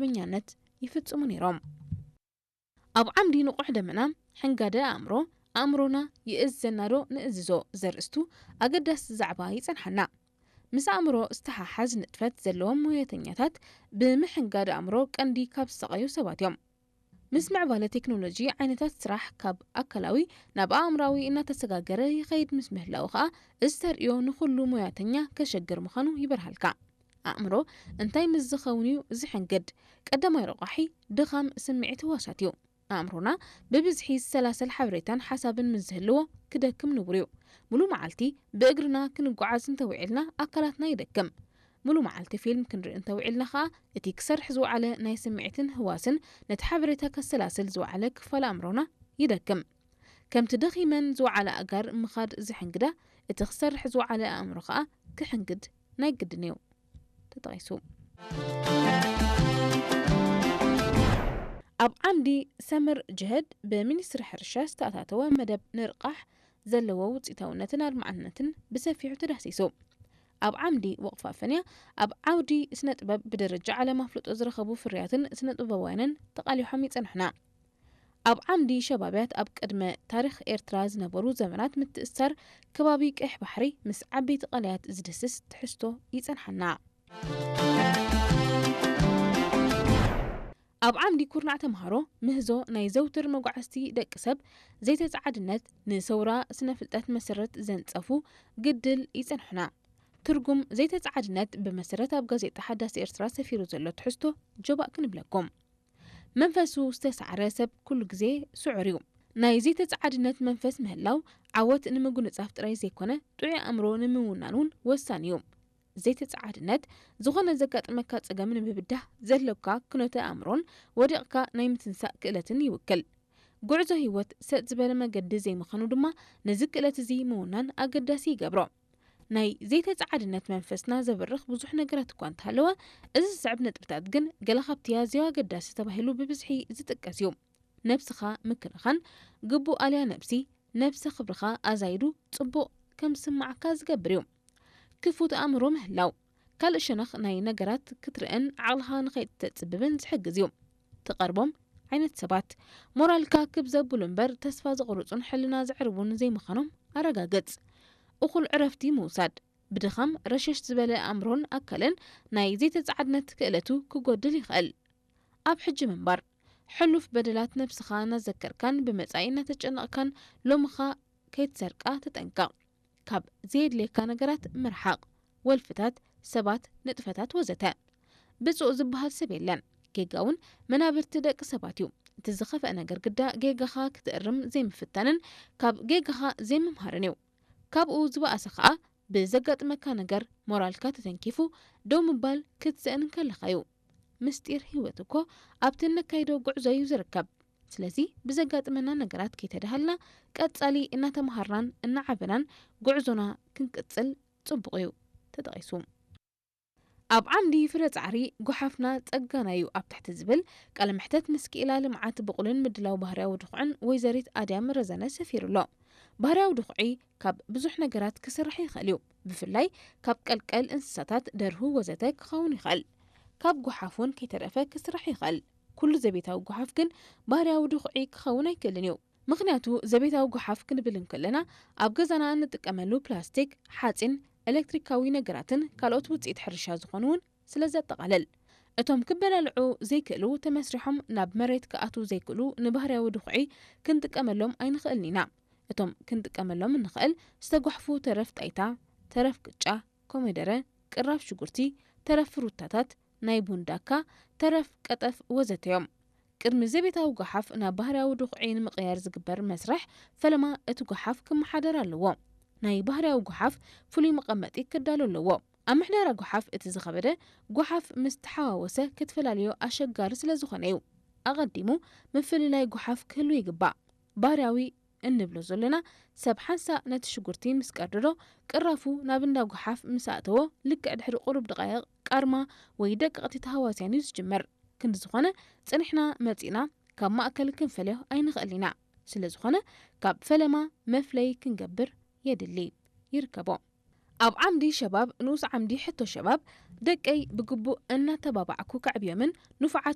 መኛነት ይፍጽሙ ነይሮም። ኣብ ዓምዲ ንቑሕ ደመና፣ ሕንጋደ ኣእምሮ፣ ኣእምሮና ይእዘና ዶ ንእዝዞ ዘርእስቱ ኣገዳሲ ዛዕባ ይጸንሓና። ምስ ኣእምሮ ዝተሓሓዝ ንጥፈት ዘለዎም ሞያተኛታት ብምሕንጋድ ኣእምሮ ቀንዲ ካብ ዝሰቐዩ ሰባት እዮም። ምስ ምዕባለ ቴክኖሎጂ ዓይነታት ስራሕ ካብ ኣካላዊ ናብ ኣእምራዊ እናተሰጋገረ ይኸይድ ምስ ምህላው ከኣ እዚ ተርእዮ ንኹሉ ሞያተኛ ከሸግር ምዃኑ ይበርሃልካ። ኣእምሮ እንታይ ምስ ዝኸውን እዩ ዝሕንግድ? ቀዳማይ ረቋሒ ድኻም ስምዒት ህዋሳት እዩ። ኣእምሮና ብብዝሒ ዝሰላሰል ሓበሬታን ሓሳብን ምስ ዝህልዎ ክደክም ንቡር እዩ። ሙሉ መዓልቲ ብእግርና ክንጓዓዝ እንተውዒልና ኣካላትና ይደክም። ሙሉ መዓልቲ ፊልም ክንርኢ እንተውዒልና ከኣ እቲ ክሰርሕ ዝወዓለ ናይ ስምዒትን ህዋስን ነቲ ሓበሬታ ከሰላስል ዝወዓለ ክፋል ኣእምሮና ይደክም። ከምቲ ደኺመን ዝወዓለ ኣጋር ምኻድ ዝሕንግዳ፣ እቲ ክሰርሕ ዝወዓለ ኣእምሮ ከኣ ክሕንግድ ናይ ግድን እዩ። ተጠቒሱ። ኣብ ዓምዲ ሰምር ጅህድ ብሚኒስትሪ ሕርሻ ዝተኣታተወ መደብ ንርቃሕ ዘለዎ ውፅኢታውነትን ኣድማዕነትን ብሰፊሑ ተዳህሲሱ። ኣብ ዓምዲ ወቕፋ ፈንያ ኣብ ዓውዲ ስነ ጥበብ ብደረጃ ዓለም ኣፍልጦ ዝረኸቡ ፍርያትን ስነ ጥበባውያንን ተቓሊሖም ይጸንሑና። ኣብ ዓምዲ ሸባብያት ኣብ ቅድመ ታሪኽ ኤርትራ ዝነበሩ ዘመናት ምትእስሳር ከባቢ ቀይሕ ባሕሪ ምስ ዓበይቲ ቃልያት ዝድስስ ትሕዝቶ ይጸንሓና። ኣብ ዓምዲ ኩርናዕ ተምሃሮ ምህዞ ናይ ዘውትር መጓዕዝቲ ደቂ ሰብ ዘይተጻዓድነት ንሰውራ ስነ ፍልጠት መሰረት ዘንጸፉ ግድል ይጸንሑና። ትርጉም ዘይተጻዓድነት ብመሰረት ኣብ ጋዜጣ ሓዳስ ኤርትራ ሰፊሩ ዘሎ ትሕዝቶ ጆባእ ክንብለኩም። መንፈሱ ዝተሳዕረ ሰብ ኩሉ ግዜ ስዑር እዩ። ናይ ዘይተጻዓድነት መንፈስ ምህላው ዓወት ንምጉንጻፍ ጥራይ ዘይኮነ ጥዑይ ኣእምሮ ንምውናን እውን ወሳኒ እዩ። ዘይተጻዓድነት ዝኾነ ዘጋጥመካ ጸገም ንምብዳህ ዘለካ ክኖተ ኣእምሮን ወዲቕካ ናይ ምትንሳእ ክእለትን ይውክል። ጉዕዞ ህይወት ሰጥ ዝበለ መገዲ ዘይምዃኑ ድማ ነዚ ክእለት እዚ ምውናን ኣገዳሲ ይገብሮ። ናይ ዘይተጻዓድነት መንፈስና ዘብርኽ ብዙሕ ነገራት እኳ እንተሃለወ፣ እዚ ዝስዕብ ነጥብታት ግን ገለ ካብቲ ኣዝዩ ኣገዳሲ ተባሂሉ ብብዝሒ ዝጥቀስ እዩ። ነብስኻ ምክንኻን፣ ግቡእ ኣልያ ነብሲ፣ ነብሰ ክብርኻ ኣዛይዱ ጽቡቕ ከም ዝስምዓካ ዝገብር እዩ። ክፉት ኣእምሮ ምህላው፣ ካልእ ሸነኽ ናይ ነገራት ክትርእን ዓቕልኻ ንኸይተጽብብን ዝሕግዝ እዩ። ትቐርቦም ዓይነት ሰባት፣ ሞራልካ ክብ ዘብሉ እምበር ተስፋ ዘቑርጹን ሕልና ዘዕርቡን ዘይምዃኖም ኣረጋግጽ። እኹል ዕረፍቲ ምውሳድ፣ ብድኻም ረሸሽ ዝበለ ኣእምሮን ኣካልን ናይ ዘይተጻዓድነት ክእለቱ ክጎድል ይኽእል። ኣብ ሕጂ ምንባር፣ ሕሉፍ በደላት ነብስኻ እናዘከርካን ብመጻኢ እናተጨነቕካን ሎምኻ ከይትሰርቃ ተጠንቀቕ። ካብ ዘየድልየካ ነገራት ምርሓቕ፣ ወልፍታት፣ ሰባት፣ ንጥፈታት ወዘተ። ብጹእ ዝበሃል ሰብ የለን። ጌጋ እውን መናብርቲ ደቂ ሰባት እዩ። እቲ ዝኸፍአ ነገር ግዳ ጌጋኻ ክትእርም ዘይምፍታንን ካብ ጌጋኻ ዘይምምሃርን እዩ። ካብኡ ዝበኣሰ ኸኣ ብዘጋጥመካ ነገር ሞራልካ ተተንኪፉ ደው ምባል ክትስእን እንከለኻ እዩ። ምስጢር ህይወት እኮ ኣብቲ እነካይዶ ጉዕዞ እዩ ዝርከብ። ስለዚ ብዘጋጥመና ነገራት ከይተደሃልና ቀጻሊ እናተምሃርናን እናዓበናን ጉዕዞና ክንቅጽል ጽቡቕ እዩ። ተጠቒሱ። ኣብ ዓምዲ ፍረ ጻዕሪ ጎሓፍና ጸጋና እዩ ኣብ ትሕቲ ዝብል ቃለ መሕተት ምስ ክኢላ ልምዓት ብቑልን ምድላው ባህርያዊ ድኹዕን ወይዘሪት ኣድያም ረዘነ ሰፊሩ ኣሎ። ባህርያዊ ድኹዒ ካብ ብዙሕ ነገራት ክስራሕ ይኽእል እዩ። ብፍላይ ካብ ቀልቀል እንስሳታት፣ ደርሁ ወዘተ ክኸውን ይኽእል። ካብ ጎሓፍ እውን ከይተረፈ ክስራሕ ይኽእል። ኩሉ ዘቤታዊ ጎሓፍ ግን ባህርያዊ ድኹዒ ክኸውን ኣይክእልን እዩ። ምኽንያቱ ዘቤታዊ ጎሓፍ ክንብል እንከለና ኣብ ገዛና እንጥቀመሉ ፕላስቲክ፣ ሓጺን፣ ኤሌክትሪካዊ ነገራትን ካልኦት ውጽኢት ሕርሻ ዝኾኑ እውን ስለ ዘጠቓልል። እቶም ክበላልዑ ዘይክእሉ ተመስሪሖም ናብ መሬት ክኣትዉ ዘይክእሉ ንባህርያዊ ድኹዒ ክንጥቀመሎም ኣይንኽእልን ኢና። እቶም ክንጥቀመሎም እንኽእል ዝተጓሕፉ ተረፍ ጣይታ፣ ተረፍ ቅጫ፣ ኮሚደረ፣ ቅራፍ ሽጉርቲ፣ ተረፍ ፍሩታታት፣ ናይ ቡን ዳካ፣ ተረፍ ቀጠፍ ወዘተ እዮም። ቅድሚ ዘቤታዊ ጎሓፍ ናብ ባህርያዊ ድኹዒ ንምቕያር ዝግበር መስርሕ ፈለማ እቲ ጎሓፍ ክመሓደር ኣለዎ። ናይ ባህርያዊ ጎሓፍ ፍሉይ መቐመጢ ክዳሎ ኣለዎ። ኣብ ምሕደራ ጎሓፍ እቲ ዝኸበደ፣ ጎሓፍ ምስ ተሓዋወሰ ክትፈላልዮ ኣሸጋሪ ስለ ዝኾነ እዩ። ኣቐዲሙ ምፍልላይ ጎሓፍ ክህሉ ይግባእ። ባህርያዊ እንብሎ ዘለና ሰብ ሓንሳእ ነቲ ሽጉርቲ ምስ ቀርድዶ ቅራፉ ናብ እንዳ ጎሓፍ ምስ ኣእተዎ ልክዕ ድሕሪ ቁሩብ ደቃይቕ ቃርማ ወይ ደቀቕቲ ተሃዋስያን እዩ ዝጅምር። ክንዲ ዝኾነ ጽኒሕና መጺእና ካብ ማእከል ክንፈልዮ ኣይንኽእል ኢና። ስለ ዝኾነ ካብ ፈለማ መፍለይ ክንገብር የድሊ። ይርከቦ። ኣብ ዓምዲ ሸባብ ንኡስ ዓምዲ ሕቶ ሸባብ ደቀይ ብግቡእ እናተባባዕኩ ከዕብዮምን ንፉዓት